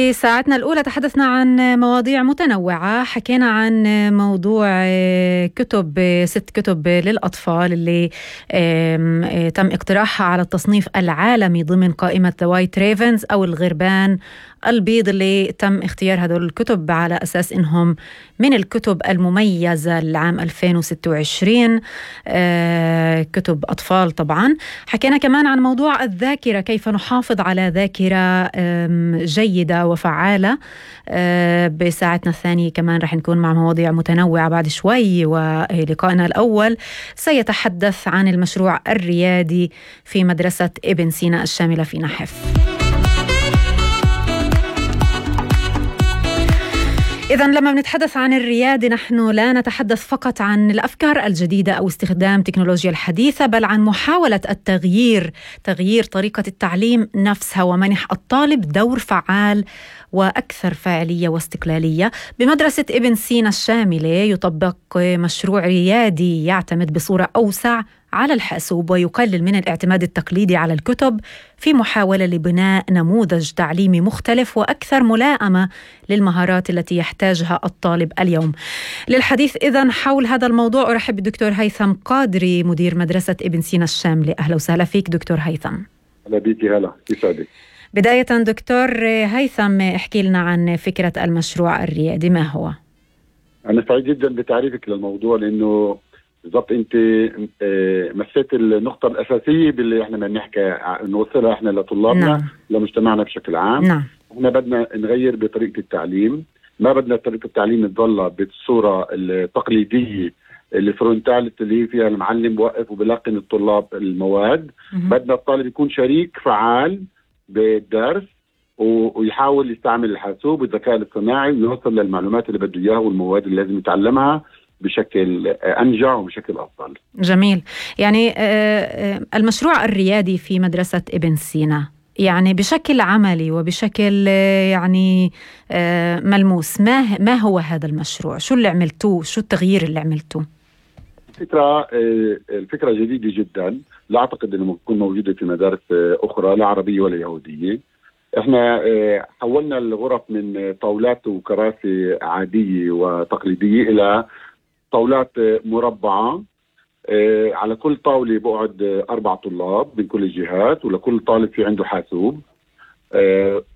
في ساعتنا الأولى تحدثنا عن مواضيع متنوعة. حكينا عن موضوع كتب 6 كتب للأطفال اللي تم اقتراحها على التصنيف العالمي ضمن قائمة The White Ravens أو الغربان البيض، اللي تم اختيار هذول الكتب على أساس إنهم من الكتب المميزة العام 2026، كتب أطفال طبعا. حكينا كمان عن موضوع الذاكرة، كيف نحافظ على ذاكرة جيدة وفعالة. بساعتنا الثانية كمان رح نكون مع مواضيع متنوعة بعد شوي، ولقائنا الأول سيتحدث عن المشروع الريادي في مدرسة ابن سينا الشاملة في نحف. إذن لما بنتحدث عن الريادة نحن لا نتحدث فقط عن الأفكار الجديدة أو استخدام تكنولوجيا الحديثة، بل عن محاولة تغيير طريقة التعليم نفسها ومنح الطالب دور فعال وأكثر فاعلية واستقلالية. بمدرسة ابن سينا الشاملة يطبق مشروع ريادي يعتمد بصورة أوسع على الحاسوب ويقلل من الاعتماد التقليدي على الكتب، في محاولة لبناء نموذج تعليمي مختلف وأكثر ملائمة للمهارات التي يحتاجها الطالب اليوم. للحديث إذن حول هذا الموضوع أرحب بالدكتور هيثم قادري مدير مدرسة ابن سينا الشاملة. أهلا وسهلا فيك دكتور هيثم. أهلا بيكي. هلا يسعدك. بداية دكتور هيثم، احكي لنا عن فكرة المشروع الريادي، ما هو؟ أنا سعيد جدا بتعريفك للموضوع، لأنه بالضبط أنت مسيت النقطة الأساسية باللي إحنا بدنا نحكي نوصلها إحنا لطلابنا. نعم. لمجتمعنا بشكل عام. نعم. إحنا بدنا نغير بطريقة التعليم، ما بدنا طريقة التعليم تضل بالصورة التقليدية الفرونتاليتي اللي فيها المعلم بوقف وبلقن الطلاب المواد. بدنا الطالب يكون شريك فعال بالدرس ويحاول يستعمل الحاسوب والذكاء الاصطناعي ويوصل للمعلومات اللي بده إياها والمواد اللي لازم يتعلمها بشكل أنجع وبشكل أفضل. جميل. يعني المشروع الريادي في مدرسة ابن سينا يعني بشكل عملي وبشكل يعني ملموس، ما هو هذا المشروع؟ شو اللي عملتوه؟ شو التغيير اللي عملتوه؟ الفكرة جديدة جدا، لا أعتقد أنه تكون موجودة في مدارس أخرى لا عربية ولا يهودية. احنا حولنا الغرف من طاولات وكراسي عادية وتقليدية إلى طاولات مربعة. على كل طاولة بقعد 4 طلاب من كل الجهات، ولكل طالب في عنده حاسوب.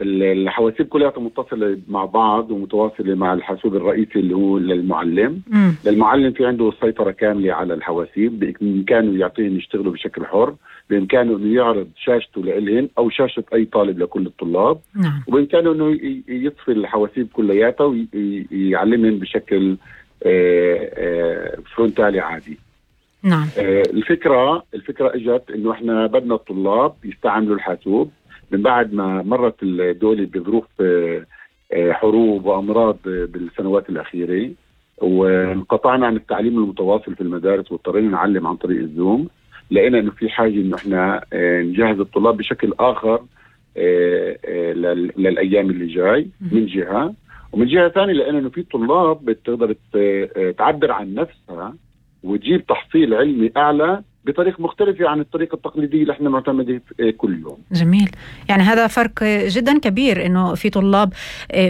الحواسيب كلها متصلة مع بعض ومتواصلة مع الحاسوب الرئيسي اللي هو للمعلم. للمعلم في عنده سيطرة كاملة على الحواسيب، بإمكانه يعطيهم يشتغلوا بشكل حر، بإمكانه أنه يعرض شاشته لإلهم أو شاشة أي طالب لكل الطلاب. وبإمكانه أنه يطفي الحواسيب كلياتها ويعلمهم بشكل فرونتالي عادي. نعم. الفكرة اجت انه احنا بدنا الطلاب يستعملوا الحاسوب من بعد ما مرت الدولة بظروف حروب وامراض بالسنوات الاخيرة، وانقطعنا عن التعليم المتواصل في المدارس واضطرينا نعلم عن طريق الزوم. لقينا انه في حاجة انه احنا نجهز الطلاب بشكل اخر للايام اللي جاي من جهة، ومن جهة ثانية لقينا انه في طلاب بتقدر تعبر عن نفسها وتجيب تحصيل علمي أعلى بطريقة مختلفة عن الطريقة التقليدية اللي احنا معتمدين كل يوم. جميل. يعني هذا فرق جدا كبير، إنه في طلاب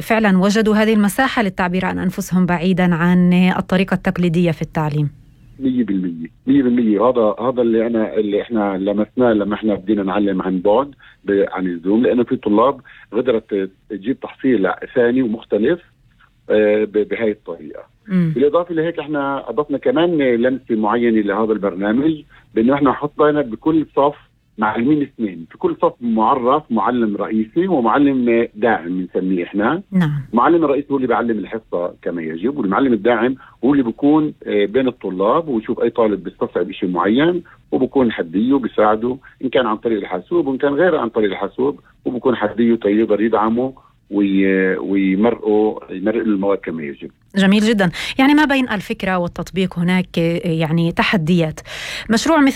فعلا وجدوا هذه المساحة للتعبير عن أنفسهم بعيدا عن الطريقة التقليدية في التعليم. 100%. هذا اللي احنا لمسناه لما احنا بدينا نعلم عن بعد عن الزوم، لأنه في طلاب قدرت تجيب تحصيل ثاني ومختلف بهاي الطريقة. بالإضافة لهيك احنا أضفنا كمان لمسة معينة لهذا البرنامج، بأنه احنا حطينا بكل صف معلمين 2، في كل صف معرف معلم رئيسي ومعلم داعم بنسميه احنا. نعم. المعلم الرئيسي هو اللي بيعلم الحصة كما يجب، والمعلم الداعم هو اللي بيكون بين الطلاب ويشوف أي طالب بيستصعب شيء معين وبكون حديه وبيساعده إن كان عن طريق الحاسوب وإن كان غير عن طريق الحاسوب، وبكون حديه يقدر يدعمه ويمرقوا المواد كما يجب. جميل جدا. يعني ما بين الفكرة والتطبيق هناك يعني تحديات. مشروع مثل